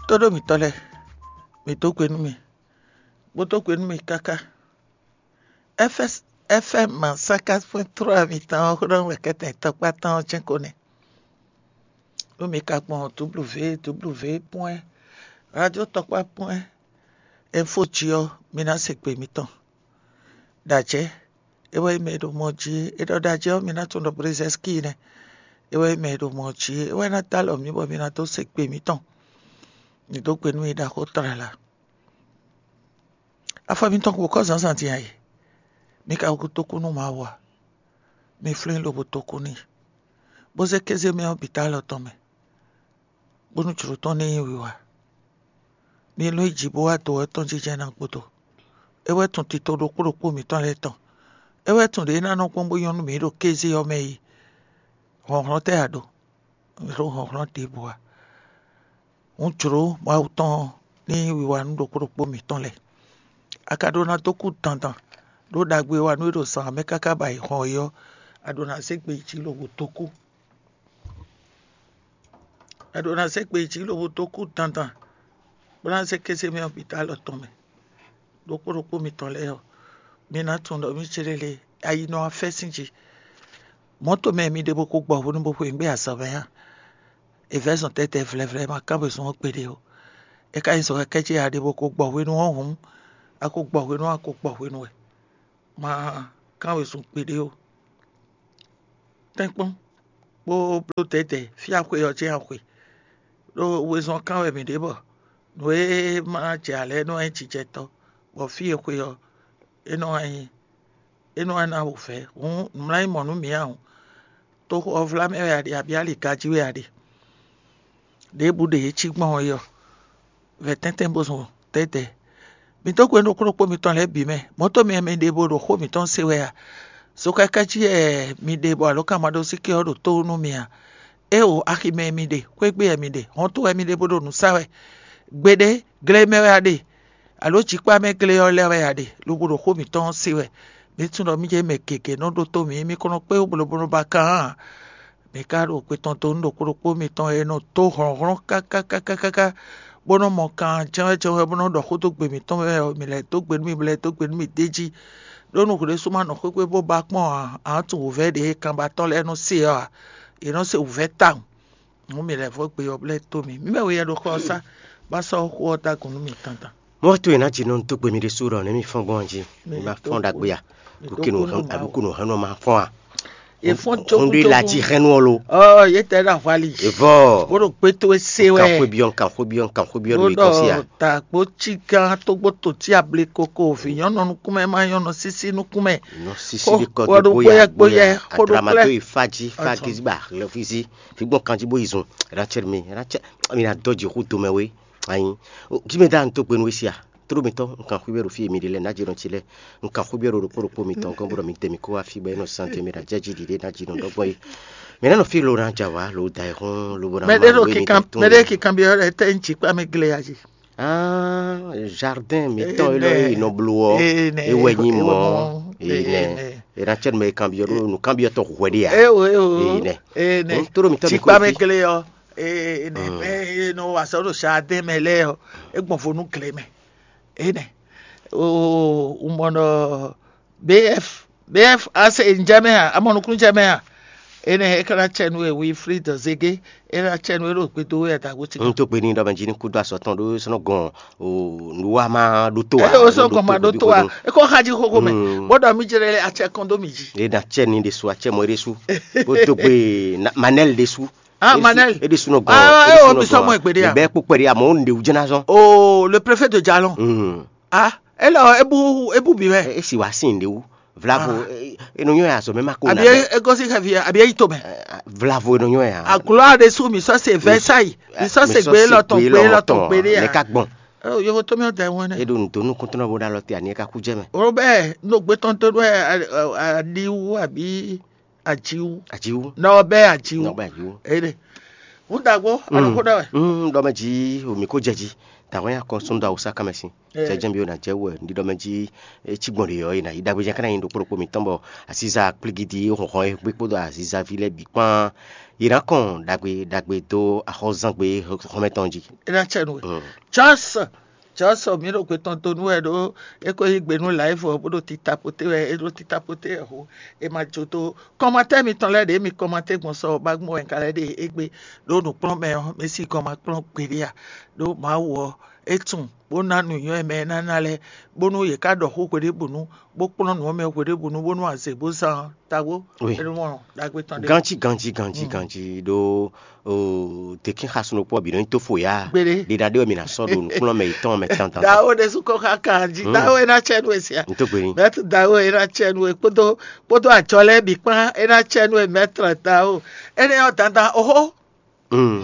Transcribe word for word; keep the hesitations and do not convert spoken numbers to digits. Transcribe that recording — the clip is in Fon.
Tóɖó mǐtɔn lɛ́ɛ, mǐ dó gbe nú mì, bó dó gbe nú mì káká. F M cinquante point trois mǐtɔn ɔ́ xó ɖɔ wɛ kɛ́tɛn tɔkpá tɔn ɔ́ jɛ́n ko nɛ́. Nú mi ka gbɔn W W W point radio tɔkpá point info jí ɔ́, mi ná se gbe mitɔn. Ɖajɛ, é wɛ nyí mɛ e ɖo mɔ jí é. É ɖɔ ɖajɛ ɔ́, mi ná tunwun ɖɔ Brezɛ́skíi nɛ́. É wɛ nyí mɛ e ɖo mɔ jí é. É wɛ ná dó alɔ mǐ bɔ mi ná dó se gbe mǐtɔn. Mi dó gbe nú mi ɖaxó tlala. Afɔ mitɔn ko kɔ́ zǎnzǎn din a e? Mi ka ko dó kú nú Mawu a? Mi flín lobo dó kú n'i, bó zé kéze mɛ ɔ́ bǐ dó alɔ tɔn mɛ, bónú jlǒ tɔn ní nyí wiwa. Mi lɔ́n yi jǐ bó wá dǒ ɔ́ tɔn jínjɛ́n ná gúdo. É wɛ tun tito ɖokpó ɖokpó mǐtɔn lɛ́ɛ tɔn. É wɛ tun ɖě ná nɔ gbɔn bó nyɔ́ nú mǐ ɖo kéze ɔ́ mɛ yi. Hlɔ̌nhlɔ́n tɛ́ a ɖo? Mǐ ɖo hlɔ̌nhlɔ́n ɖěbǔ a? Hǔn jlǒ Mawu tɔn ní wiwa nú ɖokpó ɖokpó mǐtɔn lɛ́ɛ. A ka ɖó ná dó kú dandan, ɖó ɖagbe e wa nú é ɖo zǎn mɛ káká bɔ ayǐ hɔn é ɔ́, a ɖǒ ná zé gbe yi jǐ lobo dó kú. A ɖǒ ná zé gbe yi jǐ lobo dó kú dandan, bó ná zé kéze mɛ ɔ́ bǐ dó alɔ tɔn mɛ. Ɖokpó ɖokpó mitɔn lɛ́ɛ ɔ́, mi ná tunwun ɖɔ mǐ céɖélé ayi nɔ wá fɛ́ sín jí. Mɔ̌to mɛ mi ɖe bó ko gbɔ hwenu bó xweyǐgbe azɔ̌ mɛ ǎ. È vɛ̌ zɔn tɛ́tɛ vlɛvlɛ ma kán wezun ɔ́ gbeɖé ó. É ka nyí zɔn kɛkɛ́ ce a ɖe bó ko gbɔ hwenu ɔ́ hǔn, a ko gbɔ hwenu ɔ́, a ko gbɔ hwenu wɛ, ma kán wezun gbeɖé ó. Tɛ́nkpɔ́n, bó bló dɛ̌dɛ̌ fí axwe ɔ́ jɛ́n axwe, ɖó wezun ɔ́ kán wɛ mǐ ɖe bɔ nǔ e ma jɛ ǎ lɛ́ɛ nɔ nyí jijɛtɔ́, bɔ fí e xwe ɔ́, é nɔ wá nyí é nɔ wá ná wǔvɛ́. Hǔn nǔmlá nyí mɔ̌ nú mǐ ǎ hǔn. Toxo ɔ́ vlá mɛ wɛ a ɖe, abǐ aliga jí wɛ a ɖe? Ɖěbǔ ɖe yě cí gbɔn ɔ́ é ɔ́, vɛ̌ tɛ́ntɛ́n bó zɔn tɛ́tɛ́. Mi dó gbe nú ɖokpó ɖokpó mitɔn lɛ́ɛ bǐ mɛ. Mɔ̌ tɔn mi mi ɖe bó ɖo xó mǐtɔn se wɛ a? Zokáká jí wɛ mi ɖe bɔ alǒkanmaɖósíké ɔ́ ɖo tó nú mi a? Éeǒ, axi mɛ mi ɖe, xwé gbe wɛ mi ɖe, hɔnto wɛ mi ɖe bó ɖo nǔ sa wɛ. Gbeɖé, gle mɛ wɛ a ɖe, alo jǐkpá mɛ gle ɔ́ lɛ́ɛ wɛ a ɖe, lobo ɖo xó mǐtɔn ɔ́ se wɛ. Mi tunwun ɖɔ mì jɛ mɛ gěgé nɔ ɖótó mǐ, mi ko nɔ kpé wú blǒbló ba kan ǎ. Mǐ ka ɖo kpe tɔn dó nú ɖokpó ɖokpó mitɔn e nɔ dó hlɔ̌nhlɔ́n káká káká káká, bó nɔ́ mɔ kan jɛ́nwɛ́ jɛ́nwɛ́ bó nɔ́ ɖɔ xó dó gbe mǐtɔn mɛ ɔ́, mǐ lɛ́ dó gbe nú mì, mǐ lɛ́ dó gbe nú mì d'é jí. Ɖó nú hwlɛ́sú ma nɔ xwé xwé bó ba kpɔ́n ǎ, ǎ tunwun wǔvɛ́ ɖě e kanbatɔ́ lɛ́ɛ nɔ se ɔ́ ǎ; yě nɔ se wǔvɛ́ tawun. Nǔ mǐ lɛ́ vɔ́ gbe ɔ́ blɛ́ tó mì. Mǐ mɛ we yɛ ɖo xɔ ɔ́ sá, bá sɔ́ xó ɔ́ dó agun nú mì dandan. Mɔ̌ towe ná ji nɔ dó gbe mì ɖésú ɖɔ nɛ̌ mi fɔ́n gbɔn jí? Mi ma fɔ́n ɖagbe a? Ɖokúnú hɛn ɔ́ ma fɔ́n a? È fɔ́n jókújókú. Hɔn ɖé la jí hɛn nú ɔ lo. Ɔ, yě tɛ ɖo ahwali. Evɔ. Bó ɖo gbé towe se wɛ. Nkan xwé byɔ́, nkan xwé byɔ́, nkan xwé byɔ́ ɖo yě gɔ́ sí a? Dàgbó cí gán tógbó tò tí able koko vǐ nyɔ́nɔ nukúnmɛ má nyɔ́nɔ sísí nukúnmɛ. Nɔ sísí ɖi kɔ dó bóyá bóyá, bóyá, xó ɖó adramato klɛ́. Yi fájí, fájí gbà lɛfízí, fí gbɔn kanjí bó yi zun. Rachel mi, Rachel mi ná dɔ́ jǐ xú domɛ wé. Anyi. Jí mi dá n tó gbe nú wé sí a? Tló mitɔ́, un kan xwíwɛ́ ɖo fí e mi ɖe lɛ́ɛ, nǎjínɔ ce lɛ́ɛ, un kan xwíwɛ́ ɖo ɖokpó ɖokpó mitɔn gɔ́n, bó ɖɔ mi tɛ́ mi kó wá fí bɔ é nɔ zán tɛ́ mi ɖo ajɛ́ jí ɖiɖe nǎjínɔ ɖɔgbɔn é. Mɛ nɛ́ nɔ fí lo ná ja wá lo da ɛ hɔn lobo ná mɛ ɖé ɖo kikán mɛ ɖé kikán bi ɔ́ ɖe tɛ ŋutsi kpa mɛ gle ya jí. Ah, jardin mitɔn é lɔ é nɔ blo ɔ, é wɛ nyi mɔ é nɛ. É ná cɛ nu mɛ kanbiɔ ɖo nu kanbiɔ tɔ hwɛ ɖe ya. É o é o é nɛ. É nɛ. Tó ɖo mitɔn mi tsi kpa mɛ gle ɔ. É nɛ. É nɔ wa sɔ ɖo jardin mɛ lɛ ɔ. É gbɔn vo nú gle mɛ. É nɛ. O, un mɔ nɔ B F, B F, a se ŋjɛ mɛ a? A mɔ nukúnnú jɛ mɛ a? Énɛ́ é ka ná cɛ nú we Wilfrid Zege, é ná cɛ nú we ɖo gbedo wɛ dagbo ti. Un tó gbe ní ɖɔ mɛ jí ní kúdó asɔ tɔn ɖó sɔnɔ gɔn o nǔwa má ɖó tó a. É o sɔ gɔn ma ɖó tó a. É kɔ xají xóxó mɛ. Bó ɖɔ mí jɛ lɛ acɛ kɔn dó mí jí. É ná cɛ ní ɖésú acɛ mɔ é ɖésú. Bó tó gbe Manel ɖésú. Ah, Manel. É ɖésú nɔ gɔn. Ah, é o mi sɔ mɔ gbede a. Bɛ kpó kpɛɖi amɔ ó nɖe wú jɛná zɔn. Oh, le préfet de Jalon. Ah, é lɔ é bú é bú bǐ mɛ. É si wá sí nɖe wú. Vlavo, é nɔ nyɔ ya zɔ mɛ ma ko na. Àbí é gɔ́sí xɛvi àbí é yí to mɛ. Vlavo é nɔ nyɔ ya. Aglo aɖe sú mi sɔ se Versailles, mi sɔ se gbé lɔtɔn gbé lɔtɔn gbé ɖe ya. Mɛ ka gbɔn. Yovo tó mi ɔ́ da ɛ wɛn nɛ. É ɖo nǔdó nukúntɔ́ bó ɖo alɔ te ani é ka kú jɛ mɛ. Ó bɛɛ nɔ gbé tɔn tó ɖó aɖiwu àbí ajiwu. Ajiwu. Nɔ bɛɛ ajiwu. Nɔ bɛɛ ajiwu. É ɖe. Wú dagbo, a nɔ xó ɖɔ wɛ. Ɖɔmɛ jí omi kó jɛ jí. Tàwọn yà kɔ sún do awusa kánmɛ sín. Jẹjẹ bí o nà jẹ wẹ ní ɖɔmɛ jí. Etí gbɔn ɖe yɔ yìí nà yí dagbe jẹ kánà yín ɖokpó ɖokpó mi tɔn bɔ asiza kplígidi hɔnhɔn e gbé kpódó azizavi lɛ́ɛ bǐ kpán. Yě ná kɔn dagbe dagbe dó axɔ́zangbe xɔmɛ tɔn jí. É ná tsɛ nú we. Charles, Charles, mi ɖo gbe tɔn do nú wɛ ɖó é ko yí gbe nú live ɔ bó ɖo tita poté wɛ é ɖo tita poté wɛ ho. É ma jó tó kɔmatɛ mitɔn lɛ́ɛ ɖě mi kɔmatɛ gbɔn sɔ ba gbɔn wɛ ka lɛ́ɛ ɖe égbé ɖó nǔkplɔ́nmɛ ɔ́ mɛ sí gɔn ma kplɔ́n gbeɖé a. Ɖó Mawu ɔ́ é tunwun bó ná nǔnywɛ́ mɛ e ná ná lɛ́ɛ bónú yě ká ɖɔ xó hweɖébǔnu bó kplɔ́n nǔ ɔ́ mɛ hweɖébǔnu bónú azě bó zán ɔ́ tagbó. Oui. É nú mɔ ɖagbe tɔn ɖé. Ganji ganji ganji ganji ɖó o tekin xasun ɖokpó ɔ́ bǐ nɔ nyi tó fo ya. Gbeɖé. Ɖiɖa ɖé wɛ mi na sɔ ɖo nukplɔ́n mɛ yětɔn mɛ tantan. Dawo ɖésú kɔ xá kan jí dawo é ná tsɛ nú e sia. N tó gbe ní. Mɛtú dawo é ná tsɛ nú e kpódó kpódó ajɔ lɛ́ɛ bǐ kpán é ná tsɛ nú e mɛtú dawo. Énɛ́ ɔ́ dandan oxó. Mm.